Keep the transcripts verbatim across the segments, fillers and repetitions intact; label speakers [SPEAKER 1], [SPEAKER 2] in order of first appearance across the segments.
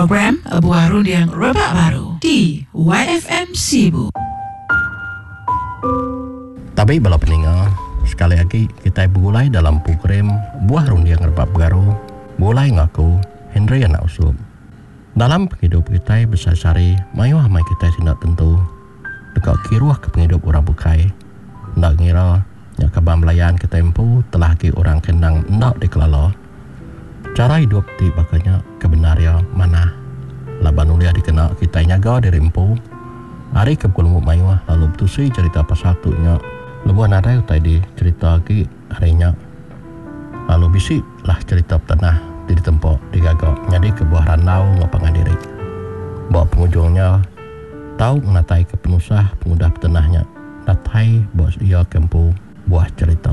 [SPEAKER 1] Program Buah Runding Rebak Baru di Y F M Sibu.
[SPEAKER 2] Tabi bala peninga, sekali agi kitai begulai dalam program Buah Runding Rebak Baru, begulai enggau aku, Henry Anak Usup. Dalam pengidup kitai besehari-sehari, mayuh amai kitai ti enda tentu deka kiruh ke pengidup orang bukai. Enda ngira nya kaban belayan kitai empu telah agi orang ke endang enda dikelala. Chara idup ti baka nya ke bendar iya manah laban ulih dikena kitai nyaga diri empu ari ke begelumu mayuh lalu betusi cherita pasal tu nya lebuh nadai utai dicherita agi ari nya lalu bisi lah cherita petenah ti ditempa digaga nyadika buah randau enggau pangan diri. Ba pengujung nya tau ngenataika penusah pengudah petenah nya datai ba iya ke empu buah cherita.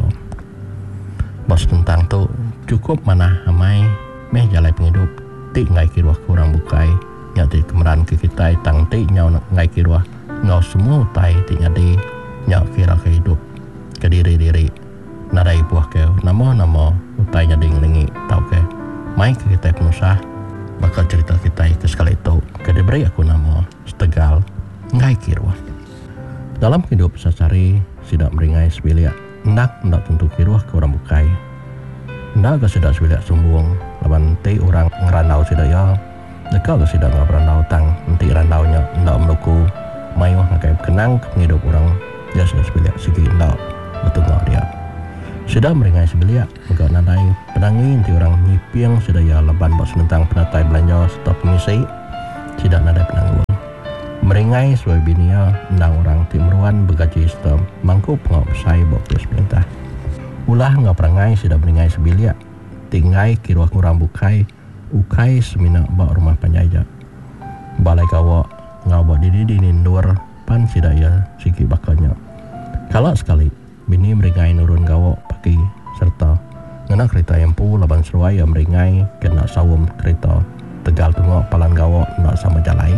[SPEAKER 2] Ba senentang tu chukup manah amai meh jalai pengidup ti enggai kiruh ke orang bukai nya ti kemeranka kitai tang enti nyau enggai kiruh enggau semua utai ti nyadi nya kira ke idup kediri-diri nadai ibuh ke nama-nama utai nyadi ngelingi tauka mai ke kitai penusah baka cherita kitai ke sekali tu ke diberi aku nama setegal enggai kiruh. Dalam pengidup sehari-sehari sida meringai sebilik endang enda tentu kiruh ke orang bukai. Enda ga sida sebilik sumbung laban enti orang ngerandau sida iya deka ga sida enggau berandau tang enti randau nya enda menuku mayuh ngagai bekenang ke pengidup orang dia sida sebilik sigi enda betunga dia. Sida meringai sebilik mega nadai penangi enti orang nyiping sida iya laban ba senentang penatai belanja sereta pemisi sida nadai penanggul. Meringai seduai bini iya endang orang ti meruan begaji sereta mangku pengawa besai ba opis perintah. Ulah enggau perangai sida meringai sebilik ti enggai kiruh orang bukai ukai semina ba rumah panjai aja. Balai gawa enggau ba dini-dini endur pan sida iya sigi baka nya. Kala sekali bini meringai nurun gawa pagi sereta ngena kerita iya empu laban seduai iya meringai ke enda saum kerita tegal tunga palan gawa enda sama jalai.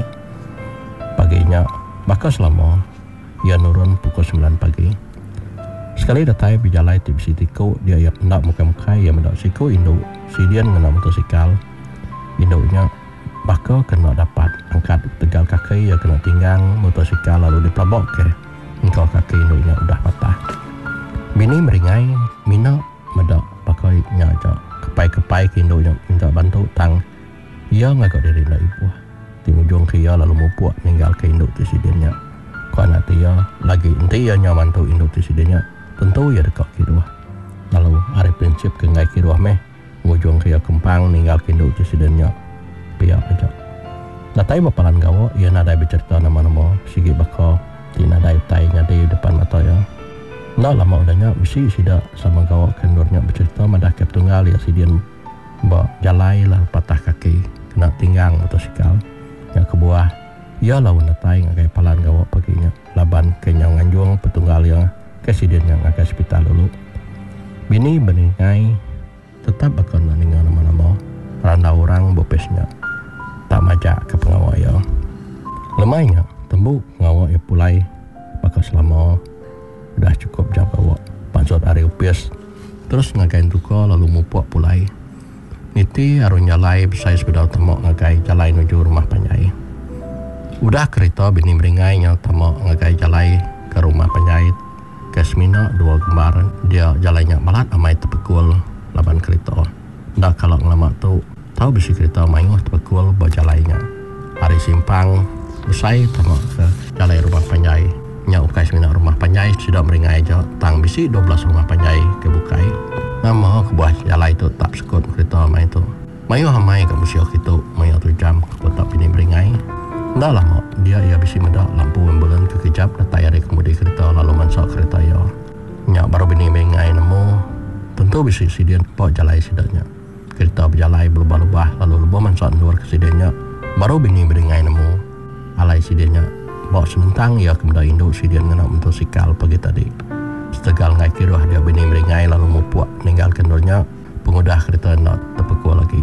[SPEAKER 2] Pagi nya baka selama iya nurun pukul semilan pagi. Sekali datai bejalai ti bisi tiku dia iya enda mukai-mukai iya meda siku indu sidin ngena motosikal. Indu nya baka ke enda dapat angkat ketegal kaki iya kena tinggang motosikal lalu dipelaba ke engka kaki indu nya udah patah. Bini meringai mina meda baka nya aja kepai-kepai ke indu nya minta bantu tang iya ngaga diri enda ibuh. Ti ngujung ke iya lalu mupuk ninggalka indu ti sidin nya. Ku anak ti iya lagi enti iya nyau mantu indu ti sidin nya tentu iya deka kiruh. Lalu ari prinsip ke enggai kiruh meh ngujung ke iya kempang ninggalka indu ti sidin nya pia aja. Datai ba palan gawa iya nadai becherita nama-nama sigi baka ti nadai utai nyadi depan mata iya. Enda lama udah nya bisi sida sama gawa ke endur nya becherita madahka petunggal iya sidin ba jalai lalu patah kaki kena tinggang motosikal. Nya kebuah iya laun datai ngagai palan gawa pagi nya laban ke nyau nganjung petunggal iya ke sidin nya ngagai sepital dulu. Bini beringai tetap baka enda ninga nama-nama randau orang ba opis nya tak majak ke pengawa iya. Lemai nya tembu pengawa iya pulai baka selama udah chukup jam gawa pansut ari opis terus ngagai entuka lalu mupuk pulai. Niti arun jalai besai sebedau tama ngagai jalai nuju rumah panjai. Udah kerita bini meringai nyau tama ngagai jalai ke rumah panjai ke semina dua gembar dia jalai nya balat amai tepekul laban kerita. Enda kala ngelama tu tau bisi kerita mayuh tepekul ba jalai nya. Ari simpang besai tama ke jalai rumah panjai nya ukai semina rumah panjai sida meringai aja tang bisi dua belas rumah panjai ke bukai. Nama kebuah jalai tu tak sekut kerita amai tu. Mayuh amai ga mensia kitu maya tu jam ke kota bini meringai. Enda lama dia iya bisi meda lampu ambulan ke kejap datai ari kemudi kerita lalu mansa kerita iya. Nya baru bini meringai nemu tentu bisi sidin ba jalai sida nya. Kerita bejalai belubah-lubah lalu lebuh mansa endur ke sidin nya baru bini meringai nemu alai sidin nya ba senentang iya ke meda indu sidin ngena motosikal pagi tadi. Setegal enggai kiruh dia bini meringai lalu mupuk ninggalka endur nya pengudah kerita enda tepekul agi.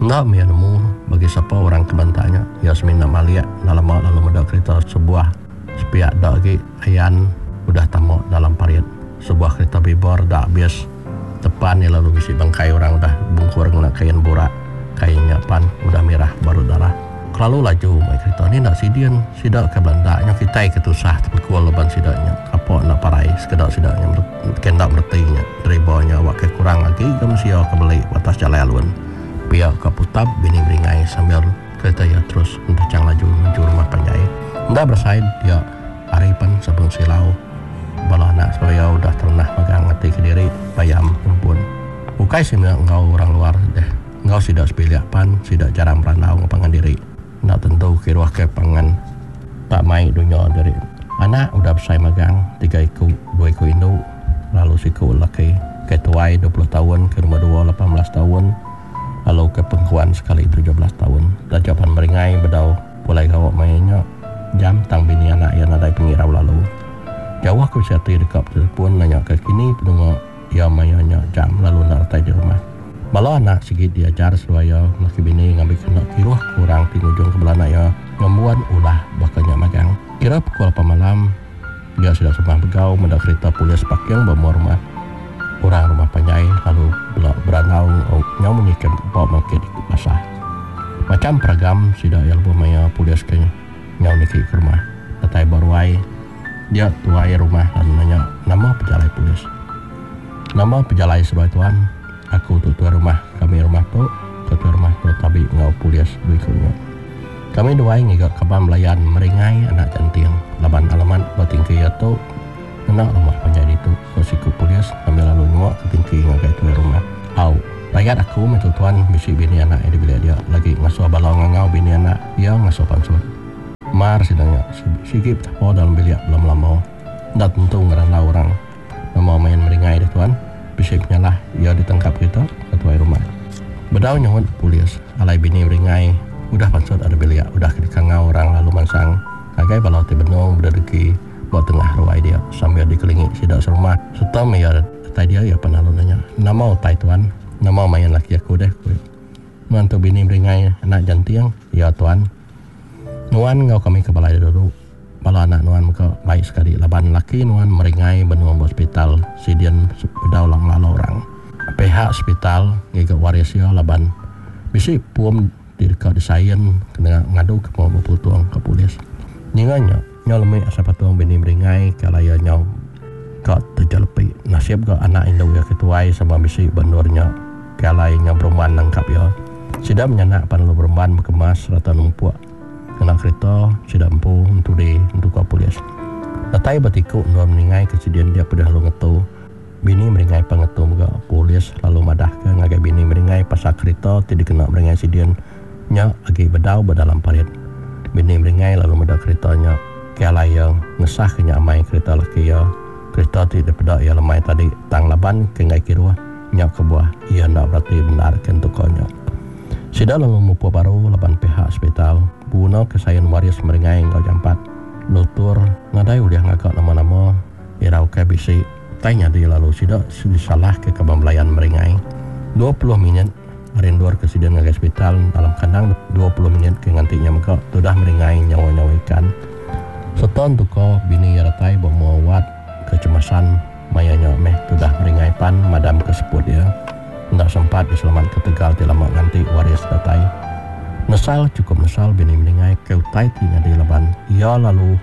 [SPEAKER 2] Enda mih iya nemu bagi sapa orang ke banta nya. Iya semina malik enda lama lalu meda kerita sebuah sepiak da agi ayan udah tama dalam parit. Sebuah kerita bibor da abis tepan iya lalu bisi bangkai orang udah bungkur ngena kain burak. Kain nya pan udah mirah baru darah. Kelalu laju mai kerita ni nak sidian sidak ke Belanda nya kitai ke tusah tepekul laban sidaknya kapok nak parai sekedak sidaknya kendak mertinya dribanya awak ke kurang lagi ke mensia ke beli atas jalan alun pihak ke putab bini beringai sambil kereta ia terus entacang laju menuju rumah panjai. Nda bersaid dia hari pan sabun silau bala anak supaya udah terenah magang ngati ke diri bayam rumpun. Ukai semina ngau orang luar deh ngau sidak sepiliak pan sidak jarang berandau ngapangan diri. Nak tentu kiruah ke pangan tak mai dunia dari anak udah besai magang tiga iku dua iku induk lalu siku laki ke tuai dua puluh tahun ke nombor dua lapan belas tahun lalu ke pengkuan sekali tujuh belas tahun. Tajapan meringai bedau pulai gawak mainnya jam tang bini anak yang nadai pengirau lalu jauh aku siati dekat telefon nanya ke kini pendengar ia mainnya jam lalu nak datai di rumah. Bala anak sigit diajar seluaya laki bini ngambil kena kiruh kurang di ujung ke belana ya ngembuan ulah bakanya magang. Kira pukul lapan malam dia sudah sembah begau mendak kereta polis parking bawa rumah. Orang rumah panjai lalu belak beranau nyau menyikem bawa market di pasar. Macam peragam sudah yang lebih maya polis ke nyau niki ke rumah. Datai baruai dia tuai rumah lalu nanya nama pejalai polis. Nama pejalai sebagai tuan. Aku tu tuan rumah, kami rumah tu, tuan rumah tu tabi ngau polis berikutnya. Kami dua ngiga kaban belayan meringai anak janting. Laban alamat bertingki ya tu, kena rumah panjai itu. Ko siku polis, kami lalu nyuak ke tingki ngagai tuan rumah. Au, rakyat aku minta tuan misi bini anak yang dibeli dia lagi ngasuh balong ngau bini anak, ia ngasuh pansut. Mar sidangnya, sigip tapo dalam bilik belum lama. Ndak tentu ngerana orang. Nama main meringai deh tuan. Bisip nyalah ia ditangkap kita ketua rumah. Bedau nyahut polis alai bini meringai udah pansut ada bilik udah dikangau orang lalu mansang ngagai balau ti benung berdeki buat tengah ruai dia sambil dikelingi sidak serumah serta ia tai dia ia pernah nanya nama utai tuan nama main laki aku deh ku. Nuan tu bini meringai anak jantiang ya tuan. Nuan ngau kami ke balai dulu. Bala anak nuan muka baik sekali laban laki nuan meringai benua hospital sidian bedau lang lalu orang. Pihak hospital ngiga waris ya laban bisi puam di dekat desain kena ngadu ke mau berputuang ke polis. Nyinganya nyau lemik asal patuang bini meringai kalau ya nyau ka terjelepi nasib ke anak induk ya ketuai sama bisi benurnya kalau nyau berumban nangkap ya. Sida menyanak pan lu berumban berkemas serta numpuk kena kereta sudah empu untuk di untuk ke polis. Datai bertikuk nuan meringai kejadian dia pada lalu ngetu. Bini meringai pengetu juga polis lalu madah ke ngagai bini meringai pasal kereta tidak kena meringai sidian nya lagi bedau berdalam parit. Bini meringai lalu medak keretanya kelai yang ngesah ke nyamai kereta laki ya. Kereta tidak pedak ya lemai tadi tang laban ke ngai kiruah nya ke buah ia nak berarti benar ke tukonya. Sida lalu mupu baru laban pihak hospital guna kesayan waris meringai ngau jampat lutur ngadai udah ngagak nama-nama irau ke bisi tanya dia lalu sida disalah ke kebang belayan meringai dua puluh minit rinduar kesedihan ngagai hospital dalam kandang dua puluh minit ke ngantinya mega sudah meringai nyawa-nyawa ikan seton tuko bini yaratai bawa kecemasan mayanya meh sudah meringai pan madam kesebut ya ndak sempat diselamat ke Tegal ti lama nganti waris datai. Nesal cukup nesal bini meringai ke utai ti nyadi laban ia lalu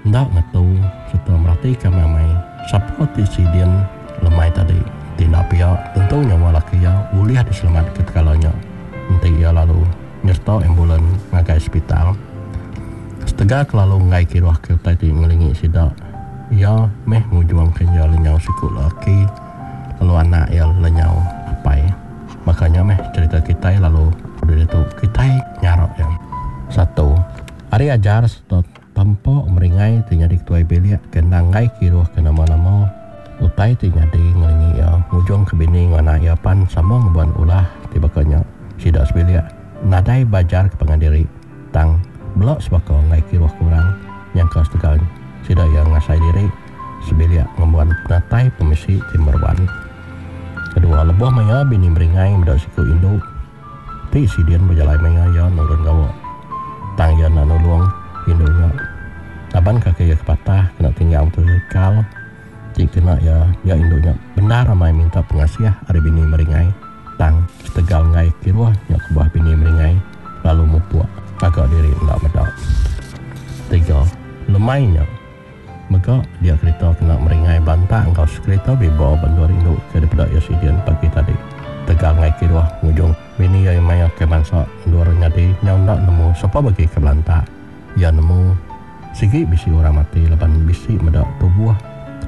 [SPEAKER 2] ndak ngetu serta merati ke mamai siapa ti sidian lemai tadi tindak pihak tentu nyawa laki ia boleh diselamat ke tegalanya. Nanti ia lalu nyerta ambulan ngagai hospital. Setegal kelalu ngai kiruah ke utai ti ngelingi sidak ia meh ngujuang ke ia lenyau siku laki lalu anak ia lenyau apai. Makanya meh cerita kita lalu dari itu kita nyarok yang satu hari ajar serta tampak meringai ti nyadi ketuai bilik kena ngai kiruh ke nama-nama utai ti nyadi ngelingi ia ngujung ke bini ngana ia pan sama ngebuan ulah ti bakanya sidak sebilik nadai bajar ke pengadiri tang belok sebaka ngai kiruh kurang yang kau setegal sidak yang ngasai diri sebilik ngebuan penatai pemisi ti meruan. Kedua lebuh maya bini meringai medak siku induk ti sidian berjalan maya ia nurun gawa tang ia nak nulung induknya laban kaki ia kepatah kena tinggal motosikal ti kena ia ia induknya benar ramai minta pengasih ari bini meringai tang setegal ngai kiruah nya kebuah bini meringai lalu mupuk agak diri Lemainya mega dia kereta kena meringai bantak engkau sekereta bibo bandu rindu ke daripada ia sidian pagi tadi. Tegal ngai kiruah ngujung bini ia maya ke bangsa dua orang nyadi nyau nak nemu siapa bagi ke belantak. Ia nemu sigi bisi orang mati laban bisi medak tubuh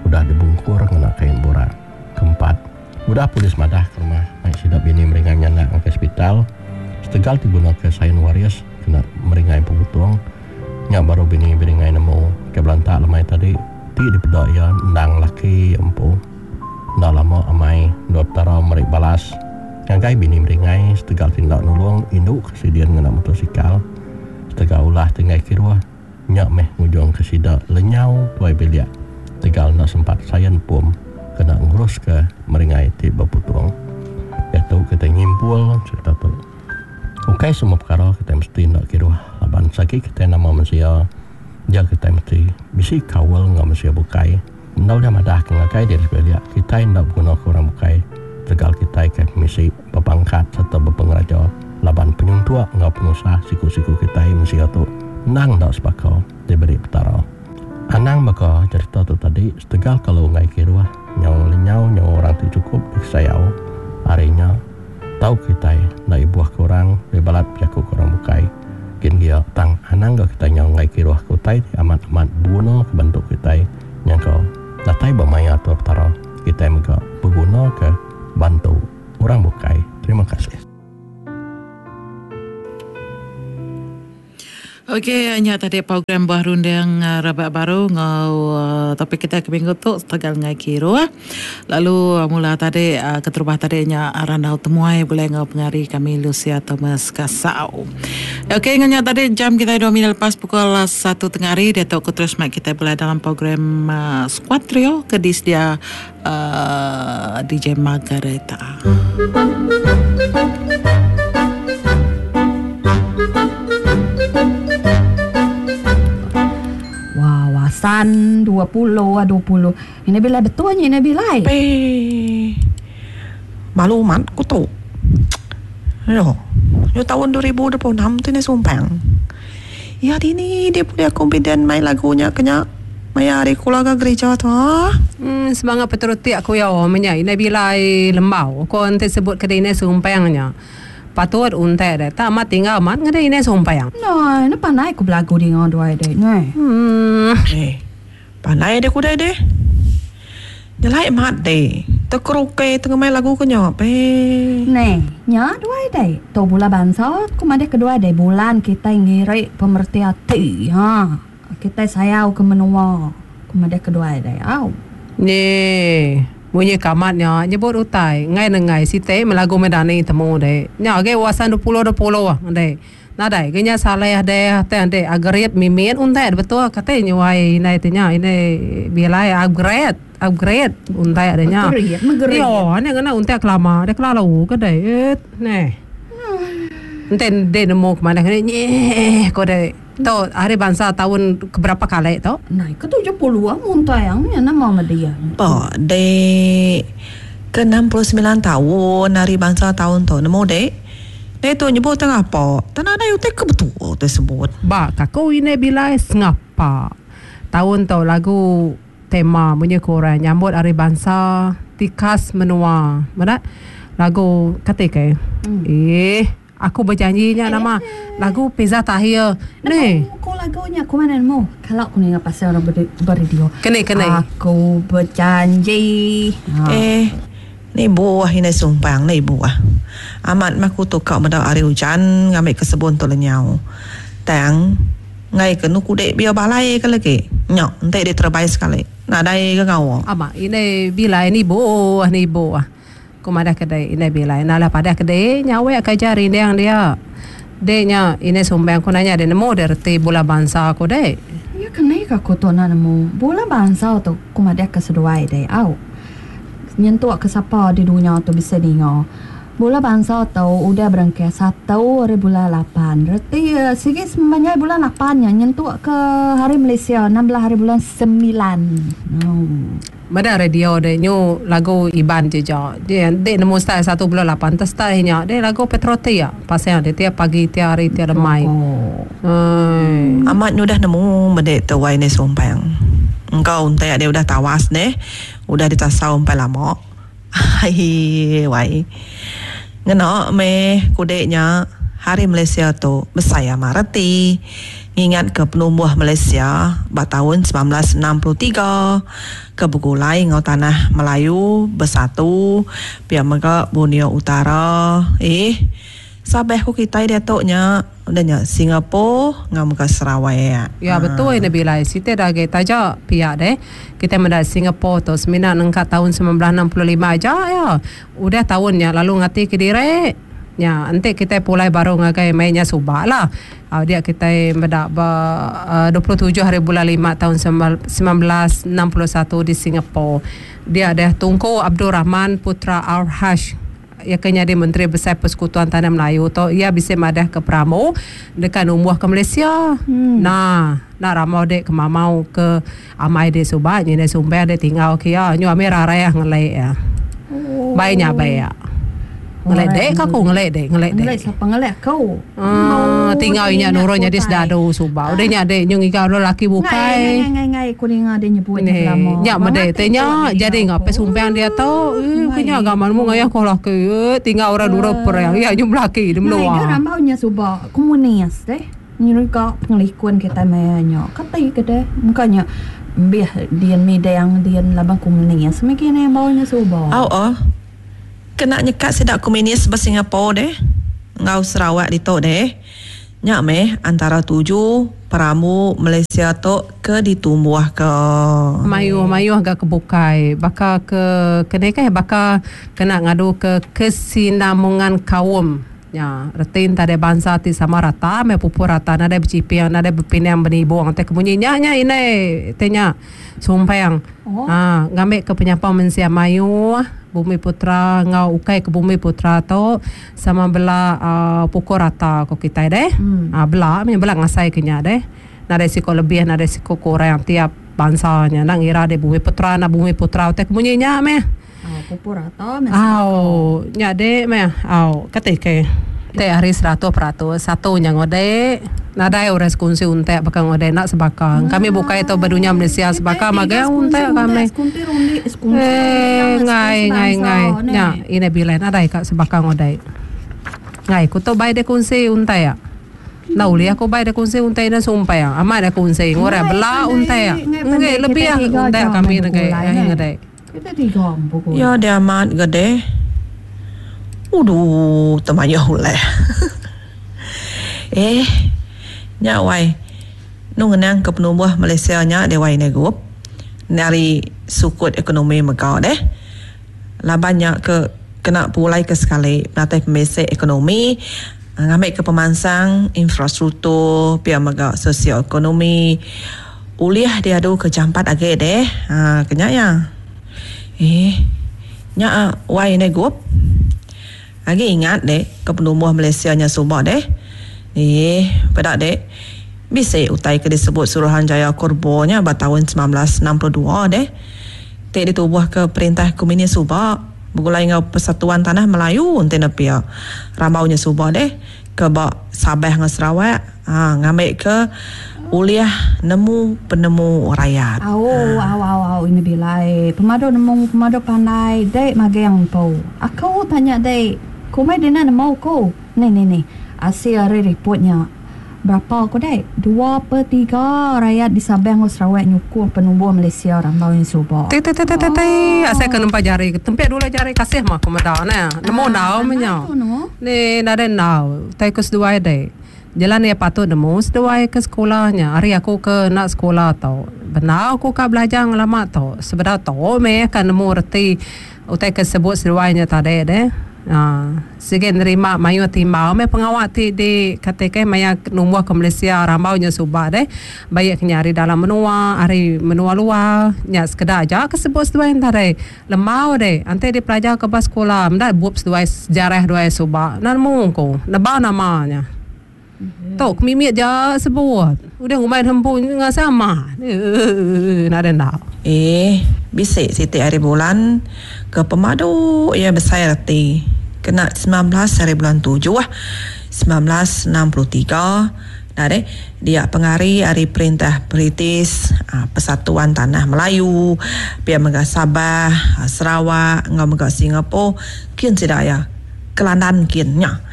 [SPEAKER 2] udah dibungkur ngena kain borak. Keempat, udah polis madah ke rumah naik sidak bini meringai nyanak ke hospital. Setegal diguna ke sain waris kena meringai pengutung. Nya baru bini beringai nemu ke belantak lemai tadi ti dipedak ia endang laki empu. Enda lama amai dua petara merik balas. Ngagai bini meringai setegal tindak nulung induk kesidian ngena motosikal. Setegal ulah tinggai kiruah nya meh ngujung ke sida lenyau tuai bilik. Tegal nak sempat sayan pom kena ngurus ke meringai ti berputung. Iaitu kita nyimpul cerita tu. Okey, semua perkara kita mesti nak kiruah. Laban sagi kita nama manusia, dia kita mesti bisi kawal dengan manusia bukai. Ndau dia madah ke ngagai diri sebelia, kita ndak guna ke orang bukai. Tegal kita ke misi berpangkat serta berpengeraja. Laban penyuntua ngau pengusaha siku-siku kita manusia tu nang ndak sepakau diberi petara. Anang maka cerita tu tadi setegal kalau ngai kiruah nyau lenyau nyau orang tu cukup disayau. Harinya tahu kita nak ibuah ke orang bebalat jaku ke orang bukai. Kin dia tang anang ke kita nyau ngai kiruah ke utai amat-amat buno ke bentuk kita yang kau datai bermaya tu petara kita mega berguna ke bantu orang bukai. Terima kasih.
[SPEAKER 1] Okey, hanya tadi program Buah Runding uh, Rabak Baru ngau uh, topik kita ke minggu tu tegal ngai kiruah. Lalu uh, mula tadi uh, keterubah tadi nya randau temuai boleh ngau pengari kami Lucia Thomas Kasau. Okey, nganya tadi jam kita dua minit lepas pukul satu tengah hari dia tu terus mak kita boleh dalam program uh, Squad Trio ke disedia uh, D J Margareta.
[SPEAKER 3] Wawasan dua puluh dua puluh. Ini bila betulnya ini bila.
[SPEAKER 4] Pe. Malu mat ku tu. Yo. Yo tahun dua ribu dua puluh enam tu ni sumpang. Ya ini dia punya confident main lagunya kena maya hari keluarga gereja tu.
[SPEAKER 5] Hmm, semangat peteruti aku ya menya ini bila lembau. Ko ente sebut ke ini sumpangnya. Patut untai deh, tak amat tinggal amat ngada ini sumpah.
[SPEAKER 3] No, ini pandai aku belagu di ngon dua deh, ne.
[SPEAKER 5] Hmm,
[SPEAKER 4] eh, pandai deh kuda deh. Nyelai mat deh, terkeruke tengah main lagu kenyop eh.
[SPEAKER 3] Ne, nya dua deh. Tu bulan bangsa, aku made kedua deh bulan kita ngirik pemerti hati, ha. Kita sayau ke menua, aku made kedua deh, au.
[SPEAKER 5] Ne. Bunyi kamatnya nyebut utai ngai nengai site melagu medani temu de nya ge wasan dua puluh dua puluh ah de nadai ge nya saleh de te de upgrade mimin untai betul kate nyuai nai te nya ini bilai upgrade upgrade untai de nya yo ne ngena untai kelama de kelalu ke de ne enten de nemu ke mana ne nye ko de tu hari bangsa tahun keberapa kali tu?
[SPEAKER 3] Nah, ke tujuh puluh ah muntah yang ni nama dia.
[SPEAKER 4] Ba, de ke enam puluh sembilan tahun hari bangsa tahun tu nemu de. De tu nyebut tengah apa? Tanah ada utai ke betul tersebut.
[SPEAKER 5] Ba, kaku ini bila sengapa. Tahun tu lagu tema punya korang nyambut hari bangsa tikas menua. Mana lagu kata ke? Hmm. Eh aku berjanjinya nama lagu Pizza Tahir. Ni.
[SPEAKER 3] Aku lagunya aku mana nemu? Kalau aku ni pasal orang beradio.
[SPEAKER 5] Kena kena.
[SPEAKER 3] Aku berjanji.
[SPEAKER 4] Ha. Eh, ni buah ini sumpang ni buah. Amat maku tu kau meda hari hujan ngambil ke sebun tu lenyau. Tang ngai ke nu kudek biar balai ke lagi. Nyok, entek dia terbaik sekali. Nadai ke kau.
[SPEAKER 5] Amak ini bila ini buah ni buah. Ku madah kedai ini bila nala pada kedai nyawe ke jari yang dia. Denya ini sumbang ku nanya dia nemu dia reti bola bangsa aku deh.
[SPEAKER 3] Ya kena aku tu nak nemu bola bangsa tu ku madah ke seduai deh. Au. Nyentuk ke siapa di dunia tu bisa dengar. Bola bangsa tu udah berangkat satu hari bulan lapan. Reti sikit sebanyak bulan lapan ya nyentuk ke hari Malaysia enam belas hari bulan sembilan. Oh.
[SPEAKER 5] Meda radio dek nyu lagu Iban je ja. Dia dek nemu style satu bulan lapan ter style nya dek lagu Petroti ya. Pasal dek tiap pagi tiap hari tiap lemai.
[SPEAKER 3] Oh.
[SPEAKER 5] Hmm.
[SPEAKER 4] Amat nyu dah nemu bedek tu wai ne sumpang. Engkau untai dia udah tawas ne, udah ditasau empai lama. Hai wai. Ngena me kudeknya Hari Malaysia tu besai amat reti. Ingat ke penumbuh Malaysia ba tahun sembilan belas enam puluh tiga ke Begulai ngau Tanah Melayu bersatu pia mega Borneo Utara. Eh sabeh ku kita dia tu nya udah nya Singapura ngau mega Sarawak.
[SPEAKER 5] Ya betul ini bilai site dah ge taja pihak deh. Kita mendak Singapura tu semina nengkat tahun sembilan belas enam puluh lima aja ya. Udah tahunnya lalu ngati ke dire. Ya, nanti kita pulai baru ngagai mainnya subak lah. Uh, dia kita mendak ba uh, dua puluh tujuh hari bulan lima tahun sembilan belas enam puluh satu di Singapura. Dia ada Tunku Abdul Rahman Putra Al-Hash ia kena jadi Menteri Besar Persekutuan Tanah Melayu tu ia bisa madah ke Pramu dekat umbuh ke Malaysia. Hmm. Nah, nak ramau dek ke mamau ke amai de subak ni de sumber de tinggal ke ya nyu amir raya ngelek ya. Oh. Baiknya baik ya. Ngelek dek aku ngelek dek ngelek dek.
[SPEAKER 3] Ngelek siapa ngelek kau?
[SPEAKER 5] Ah, tinggal inya nurun jadi sedadu subak. Udah nya dek nyu ngigau lelaki bukai.
[SPEAKER 3] Ngai ngai ngai ku ninga dia nyebut nya lama.
[SPEAKER 5] Nya medek teh nya jadi ngape sumpang dia tu. Eh kenya gamanmu ngayah ko laki. Tinggal orang dura perang. Ya nyu laki di menua.
[SPEAKER 3] Ngai rambau nya subak komunis deh. Nyu ka pengelikun kita nya. Kata ke deh. Mukanya biah dian midang dian labang komunis. Mikine baunya subak.
[SPEAKER 4] Au oh. Kena nyekat sedak komunis ber Singapura deh. Ngau Sarawak ditok deh. Nyak meh antara tujuh peramu Malaysia tok ke ditumbuh ke.
[SPEAKER 5] Mayuh-mayuh agak kebukai. Baka ke kena ke baka kena ngadu ke kesinambungan kaum. Ya, retin tak ada bangsa ti sama rata, me pupur rata, nada bercipiang, nada berpinang benibuang. Teh kemunyinya nya ini tenya sumpang. Oh. Ha, ngambil ke penyapa mensia mayu Bumi Putra ngau ukai ke Bumi Putra tu sama bela uh, pukul rata ko kita deh. Hmm. Ha, bela me bela ngasai kenya deh. Nada siko lebih, nada siko kurang tiap bangsanya. Nak ngira deh Bumi Putra, nak Bumi Putra teh kemunyinya me.
[SPEAKER 3] Oh, pupur rata me.
[SPEAKER 5] Au, nya deh me. Au, ketika teh hari seratus peratus satu nya ngode nadai ores kunci untek bakal ngode nak sebakang. Kami buka itu berdunia Malaysia sebakang magai untek kami. Eh ngai ngai ngai. Nya ini bila nadai kak sebakang ngode. Ngai ku tu bai de kunci untek ya. Nah uli aku bai de kunci untek na sumpai ya. Amat de kunci ngore bela untek ya. Ngai lebih ya untek kami ngai ngade.
[SPEAKER 3] Kita tiga pukul.
[SPEAKER 4] Ya dia amat gede. Uduh, temannya huleh. Eh, nya wai. Nu ngenang ke penumbuh Malaysia nya dia wai negup. Dari sukut ekonomi megau deh. Labannya ke kena pulai ke sekali natai pemesek ekonomi, ngambil ke pemansang infrastruktur pia megau sosioekonomi. Uliah dia adu ke jampat age deh. Ha, kenya ya. Eh, nya wai negup. Lagi ingat dek ke penumbuh Malaysia nya subak deh. Eh, pada dek bisa utai ke disebut Suruhanjaya Korbo nya pada tahun sembilan belas enam puluh dua deh. Tek ditubuh ke perintah komunis subak bergulai ngau Persatuan Tanah Melayu ente nepia. Ramaunya subak deh ke bak Sabah dengan Sarawak, ha ngambil ke uliah nemu penemu rakyat.
[SPEAKER 3] Au au au au ini bilai. Pemadu nemu pemadu pandai dek magang po. Aku tanya dek, kumai dia nak nemu ko. Ni ni ni. Hasil hari reportnya. Berapa aku dek? Dua per tiga rakyat di Sabah dan Sarawak nyukung penumbuh Malaysia rambau yang subak.
[SPEAKER 5] Ti ti ti ti ti. Asal ke nempa jari. Tempek dulu jari kasih mah aku meda nah. Nemu nau menya. Ni nade nau. Tai ke seduai dek. Jalan dia patut nemu seduai ke sekolahnya. Hari aku ke nak sekolah tau. Benar aku ka belajar lama tau. Sebenar tau me kan nemu reti utai ke sebut seduainya tadi deh. Ha, sige nerima mayu timbau me pengawak ti di katakan maya numbuh ke Malaysia rambaunya subak deh. Baik kenya hari dalam menua, hari menua luar, nya sekedar aja ke sebut seduai tadi. Lemau deh, ante di pelajar ke bas sekolah, mendak bup seduai sejarah duai subak. Nan mungko, neba namanya. Tok mimit je sebut. Udah ngumai hempun dengan sama. Eh, nak ada nak.
[SPEAKER 4] Eh, Bisi siti hari bulan ke pemadu iya besai reti kena semilan belas hari bulan tujuh semilan belas enam puluh tiga dah deh dia pengari ari perintah British Persatuan Tanah Melayu pia mega Sabah Sarawak enggau mega Singapore kin sida iya ke London kin nya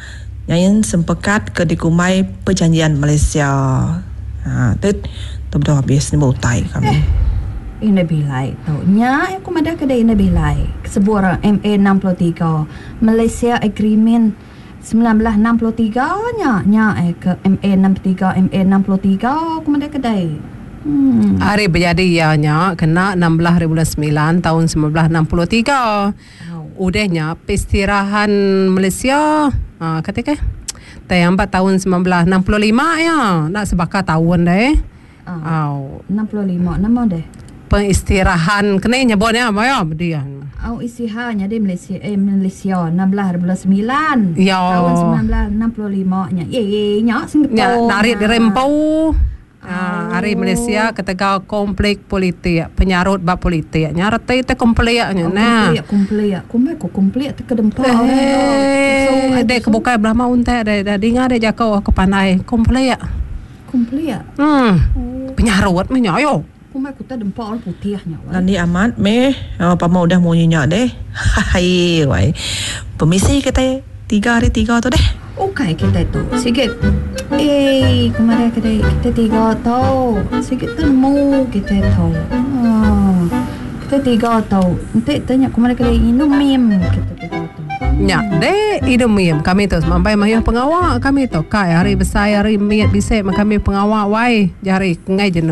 [SPEAKER 4] nyain sempekat ke dikumbai Perjanjian Malaysia. Ha tu tu bedau habis nyebut utai kami.
[SPEAKER 3] Ina bilai tu. Nya aku madah ke ina bilai. Sebuah M A enam puluh tiga Malaysia Agreement sembilan belas enam puluh tiga nya nya eh ke M A enam puluh tiga M A enam puluh tiga aku madah kedai. Hmm.
[SPEAKER 5] Hari berjadi ya nya kena enam belas hari bulan sembilan tahun sembilan belas enam puluh tiga. Oh. Udahnya pestirahan Malaysia ha kata ke tayang empat tahun sembilan belas enam puluh lima ya nak sebaka tahun deh.
[SPEAKER 3] Ah. Oh. enam puluh lima nama deh.
[SPEAKER 5] Pengistirahan kena nyebutnya apa ya dia.
[SPEAKER 3] Oh istirahatnya di Malaysia eh Malaysia enam belas bulan sembilan
[SPEAKER 5] ya.
[SPEAKER 3] Tahun sembilan belas enam puluh lima nya. Ye ye nya Singapura.
[SPEAKER 5] Nya narik dirempau. Ah, hari Malaysia ketegal konflik politik, penyarut bab politik. Nya reti te konfliknya nah.
[SPEAKER 3] Konflik konflik. Kumai ko konflik te kedempa.
[SPEAKER 5] Eh, dek kebukai belah mau untek dek dah dengar dek jakau aku pandai konflik.
[SPEAKER 3] Konflik.
[SPEAKER 5] Hmm. Oh. Penyarut meh nya ayo.
[SPEAKER 3] Kumai ku ta dempa orang putihnya.
[SPEAKER 4] Nani amat meh, oh, pama udah munyi nya deh. Hai wai. Permisi kita tiga hari tiga tu deh.
[SPEAKER 3] Okey kita tu. Sikit. Eh, kemarin kita kita tiga tu. Sikit temu kita tu. Ah. Kita tiga tu. Nanti tanya kemarin kita minum mim kita tiga tu.
[SPEAKER 5] Nya deh idum mim kami tu sampai mayuh pengawak kami tu kai hari besar hari miat bisik kami pengawak wai jari ngai jenuh.